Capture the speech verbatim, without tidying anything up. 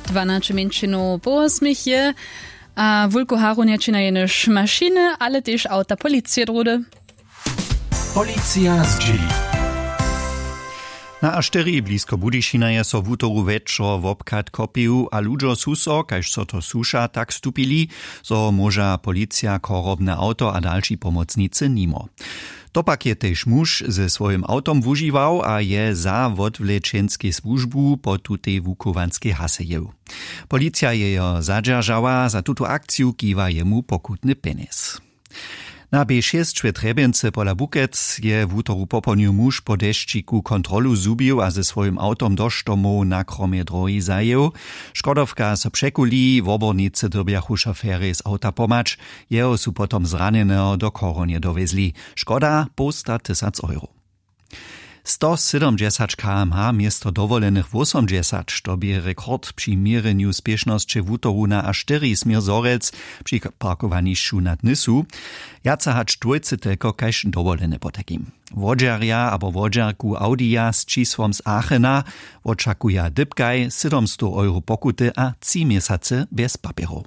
Dwanaće mjeńšinow połosmich je, a wulku haru nječinja jenož mašiny, ale tež awta policije druhdy. Policija zdźěli. Na a štyri blisko Budyšina je so wutoru wječor wobchad kopił a ludźo su so, kaž so to słuša, tak stupili, zo móža policija chorobne awto a dalši pomocnicy nimo. To pak je tež muž ze swojim awtom wužiwał a je za wotwlečenskej słužbu po tutej wuchowanskej hase jěł. Policija je jo zadźeržała, za tutu akciju kiwa jemu pokutny pjenjez. Na b šěsć we trjebjency pola bukec je wutoru popołdnju muž po dešćiku kontrolu zhubił a ze swojim awtom do štomow na kromje drohi zajěł. Škodowka so překuli, wobornicy dyrbjachu šoferjej z awta pomhać. Jeho su potom zranjeneho do chorowanje dowjezli. Škoda połsta tysac euro. Sto sydomdźesać kmh město dowolenych wósomdźesać, to bě rekord při měrjenju spěšnosće wutoru na a štyri směr zhorjelc při parkowanišću nad nysu. Wjace hač dwójce telko kaž dowolene potajkim. Wodźerja abo wodźerku audija z čisłom z aachena wočakuja dypkaj sydomstow euro pokuty a tři měsacy bjez papjerow.